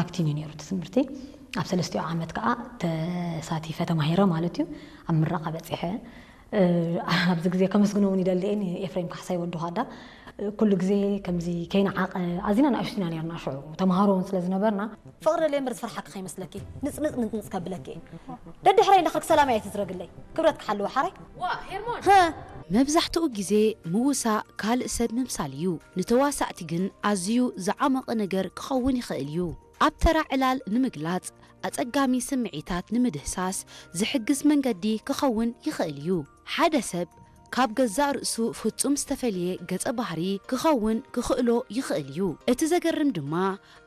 ኣብቲን እዩ ነይሩ እቲ ትምህርቲ። ኣብ ሰለስቲኡ ዓመት ከዓ ተሳቲፈ ተማሂረ ማለት እዩ። ኣብ ምረቓ በፂሐ። ኣብዚ ግዜ ከመስግኖ እውን ይደሊ እየ ንኤፍሬም ካሕሳይ ወዲ ኳዳ። ኩሉ ግዜ ከምዚ ከይንዓቐ ኣዚና ንኣሽቱ ኢና ነርና ሽዑ ተምሃሮ እውን ስለ ዝነበርና። ፍቕሪ ደልየ እምበር ዝፈርሓኪ ከይመስለኪ ንፅንፅ ንፅንፅ ከብለኪ እየ። ደድሕረይ እንዳኸድክ ሰላም እያ ትዝረግለይ። ክብረት ክሓልዎ ሓራይ። ዋ ሄርሞን። መብዛሕትኡ ግዜ ምውሳእ ካልእ ሰብ ምምሳል እዩ። ንተዋሳእቲ ግን ኣዝዩ ዝዓመቐ ነገር ክኸውን ይኽእል እዩ። ኣብ ተራ ዕላል ንምግላጽ ኣጸጋሚ ስምዒታት ንምድህሳስ ዝሕግዝ መንገዲ ክኸውን ይኽእል እዩ። ሓደ ሰብ ካብ ገዛእ ርእሱ ፍጹም ዝተፈልየ ገጸ ባህሪ ክኸውን ክኽእሎ ይኽእል እዩ። እቲ ዘገርም ድማ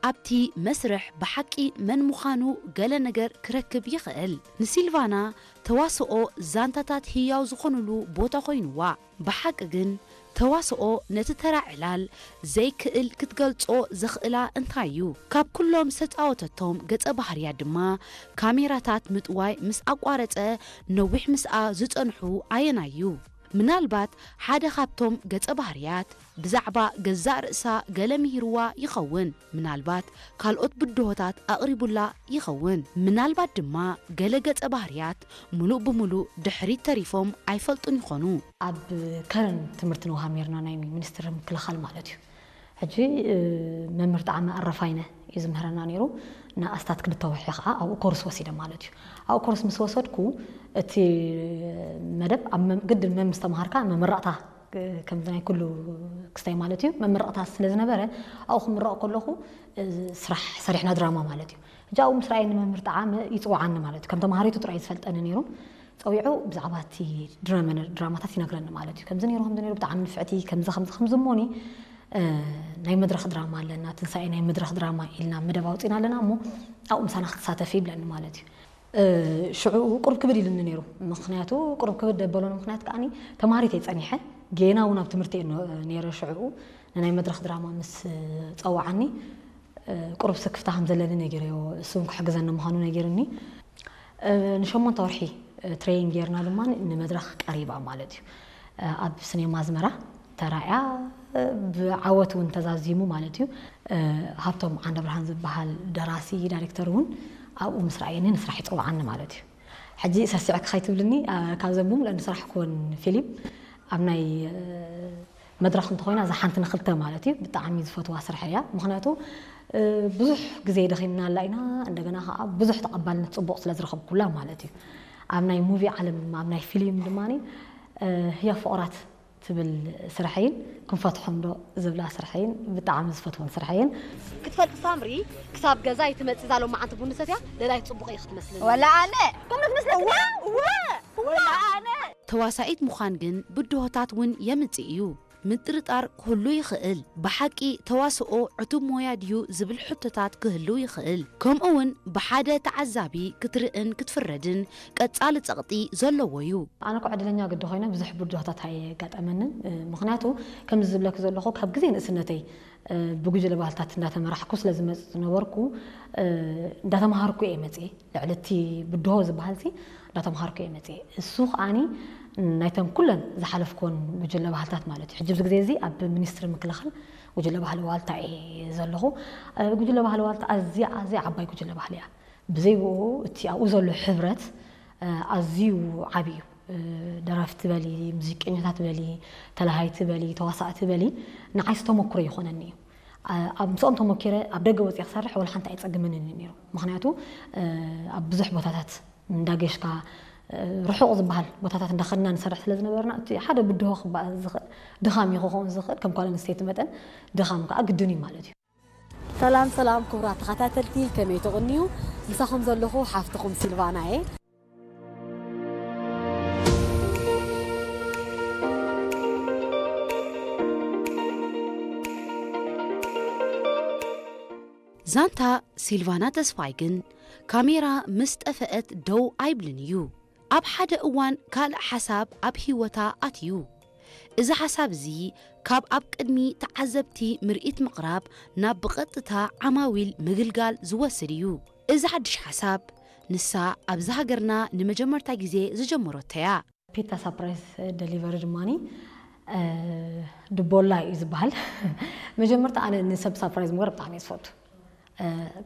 ኣብቲ መስርሕ ብሓቂ መን ምዃኑ ገለ ነገር ክረክብ ይኽእል። ንሲልቫና ተዋስኦ ዛንታታት ህያው ዝኾኑሉ ቦታ ኮይኑዋ። ብሓቂ ግን ተዋስኦ ነቲ ተራ ዕላል ዘይክእል ክትገልጾ ዘኽእላ እንታይ እዩ? ካብ ኩሎም ዝተጻወተቶም ገጸ ባህርያት ድማ ካሜራታት ምጥዋይ ምስ ኣቋረጸ ነዊሕ ምስኣ ዝጸንሑ ኣየናይ እዩ? ምናልባት ሓደ ካብቶም ገጸ ባህርያት ብዛዕባ ገዛእ ርእሳ ገለ ምሂርዋ ይኸውን። ምናልባት ካልኦት ብድሆታት ኣቕሪቡላ ይኸውን። ምናልባት ድማ ገለ ገጸ ባህርያት ምሉእ ብምሉእ ድሕሪት ተሪፎም ኣይፈልጡን ይኾኑ። ኣብ ከረን ትምህርቲ ንውሃብ ነርና ናይ ሚኒስትሪ ምክልኻል ማለት እዩ። ሕጂ መምህር ጣዕመ ኣረፋይነ እዩ ዝምህረና ነይሩ። ንኣስታት ክልተ ወርሒ ከዓ ኣብኡ ኮርስ ወሲደ ማለት እዩ። ኣብኡ ኮርስ ምስ ወሰድኩ እቲ መደብ ኣብ መም- ግድን መም ምስ ተምሃርካ መመረቕታ ከምዚ ናይ ኩሉ ክስታይ ማለት እዩ መመረቕታ ስለ ዝነበረ ኣብኡ ክምረቕ ከለኹ ስራሕ ሰሪሕና ድራማ ማለት እዩ። ሕጂ ኣብኡ ምስ ረኣየኒ መምህር ጣዕመ ይፅውዓኒ ማለት እዩ። ከም ተምሃሪቱ ጥራይ ዝፈልጠኒ ነይሩ። ፀዊዑ ብዛዕባ እቲ ድራመ ድራማታት ይነግረኒ ማለት እዩ። ከምዚ ነይሩ ከምዚ ነይሩ ብጣዕሚ ንፍዕቲ ከምዚ ከምዚ ከምዚ እሞኒ ናይ መድረኽ ድራማ ኣለና ትንሳኤ ናይ መድረኽ ድራማ ኢልና መደብ ኣውፂና ኣለና እሞ ኣብኡ ምሳና ክትሳተፊ ይብለኒ ማለት እዩ። ሽዑ ቁርብ ክብድ ኢሉኒ ነይሩ። ምክንያቱ ቁርብ ክብድ ደበሎኒ ምክንያት ከዓኒ ተማሃሪት እየ ፀኒሐ ጌና እውን ኣብ ትምህርቲ እየ ነይረ። ሽዕኡ ንናይ መድረኽ ድራማ ምስ ፀዋዓኒ ቁሩብ ስክፍታ ከም ዘለኒ ነጊረዮ። እሱ እውን ክሕግዘኒ ምዃኑ ነጊርኒ። ንሸሞንተ ወርሒ ትሬይን ጌርና ድማ ንመድረኽ ቀሪባ ማለት እዩ። ኣብ ስኔማ ኣዝመራ ተራእያ ብዓወት እውን ተዛዚሙ ማለት እዩ። ሃብቶም ዓንደብርሃን ዝበሃል ደራሲ ዳይሬክተር እውን ኣብኡ ምስ ረኣየኒ ንስራሕ ይፅውዓኒ ማለት እዩ። ሕጂ ሰሲዕኪ ከይትብልኒ ካብዘን ብምልአን ዝሰራሕክወን ፊሊም ኣብ ናይ መድረኽ እንተኾይና እዛ ሓንቲ ንክልተ ማለት እዩ ብጣዕሚ ዝፈትዋ ስራሕ እያ። ምክንያቱ ብዙሕ ግዜ ደኺምናላ ኢና እንደገና ከዓ ብዙሕ ተቐባልነት ፅቡቕ ስለ ዝረኸብኩላ ማለት እዩ። ኣብ ናይ ሙቪ ዓለም ኣብ ናይ ፊሊም ድማ ህያ ፍቑራት ትብል ስርሐይን ክንፈትሖም ዶ ዝብላ ስርሐይን ብጣዕሚ ዝፈትወን ስርሐይን። ክትፈልጢ ሳምሪ ክሳብ ገዛ ይትመጽእ እዛ ሎማዓንቲ ቡን ሰትያ ደላይ ጽቡቕ እዩ ክትመስልኒ። ወላ ኣነ ከምኡ ትመስለኪ? እወ፣ እወ፣ እወ። ወላ ኣነ ተዋሳኢት ምዃን ግን ብድሆታት እውን የምጽእ እዩ። ምጥርጣር ክህሉ ይኽእል። ብሓቂ ተዋስኦ ዕቱብ ሞያ ድዩ ዝብል ሕቶታት ክህሉ ይኽእል። ከምኡ እውን ብሓደ ተዓዛቢ ክትርእን ክትፍረድን ቀጻሊ ጸቕጢ ዘለዎ እዩ። ኣነ እኮ ዕድለኛ ግዲ ኮይነ ብዙሕ ብድሆታት ኣየጋጠመንን። ምኽንያቱ ከምዚ ዝብለኪ ዘለኹ ካብ ግዜ ንእስነተይ ብጉጅለ ባህልታት እንዳተመራሕኩ ስለ ዝመጽእ ዝነበርኩ እንዳተምሃርኩ እየ መጽእ። ልዕሊ እቲ ብድሆ ዝበሃል ሲ እንዳተምሃርኩ እየ መፅእ። እሱ ከዓኒ ናይተን ኩለን ዝሓለፍኩወን ጉጅለ ባህልታት ማለት እዩ። ሕጂ ኣብዚ ግዜ እዚ ኣብ ሚኒስትሪ ምክልኻል ጉጅለ ባህሊ ዋልታ እየ ዘለኹ። ጉጅለ ባህሊ ዋልታ ኣዝያ ኣዝያ ዓባይ ጉጅለ ባህሊ እያ። ብዘይ ብኡ እቲ ኣብኡ ዘሎ ሕብረት ኣዝዩ ዓብዪ እዩ። ደረፍቲ በሊ፣ ሙዚቀኛታት በሊ፣ ተላሃይቲ በሊ፣ ተዋሳእቲ በሊ ንዓይስ ተመክሮ ይኾነኒ እዩ። ኣብ ምስኦም ተመኪረ ኣብ ደገ ወፅየ ክሰርሕ ወላ ሓንቲ ኣይፀግመንን እዩ ነይሩ። ምክንያቱ ኣብ ብዙሕ ቦታታት እንዳገሽካ ርሑቕ ዝበሃል ቦታታት እንዳኸድና ንሰርሕ ስለ ዝነበርና እቲ ሓደ ብድሆ ክበሃል ዝኽእል ድኻም እዩ ክኸውን ዝኽእል ከም ጓል ኣንስተይቲ መጠን ድኻም ከዓ ግድን እዩ ማለት እዩ። ሰላም ሰላም ክቡራት ተኸታተልቲ ከመይ ትቕንዩ? ምሳኹም ዘለኹ ሓፍትኹም ሲልቫና እየ። ዛንታ ሲልቫና ተስፋይ ግን ካሜራ ምስ ጠፈአት ደው ኣይብልን እዩ። ኣብ ሓደ እዋን ካልእ ሓሳብ ኣብ ህይወታ ኣትዩ። እዚ ሓሳብ እዚ ካብ ኣብ ቅድሚ ተዓዘብቲ ምርኢት ምቕራብ ናብ ብቐጥታ ዓማዊል ምግልጋል ዝወስድ እዩ። እዚ ሓድሽ ሓሳብ ንሳ ኣብዚ ሃገርና ንመጀመርታ ግዜ ዝጀመረቶ እያ። ፒታ ሳፕራይዝ ደሊቨሪ ድማ ድቦላ እዩ ዝበሃል። መጀመርታ ኣነ ንሰብ ሳፕራይዝ ምግባር ብጣዕሚ እየ ዝፈቱ።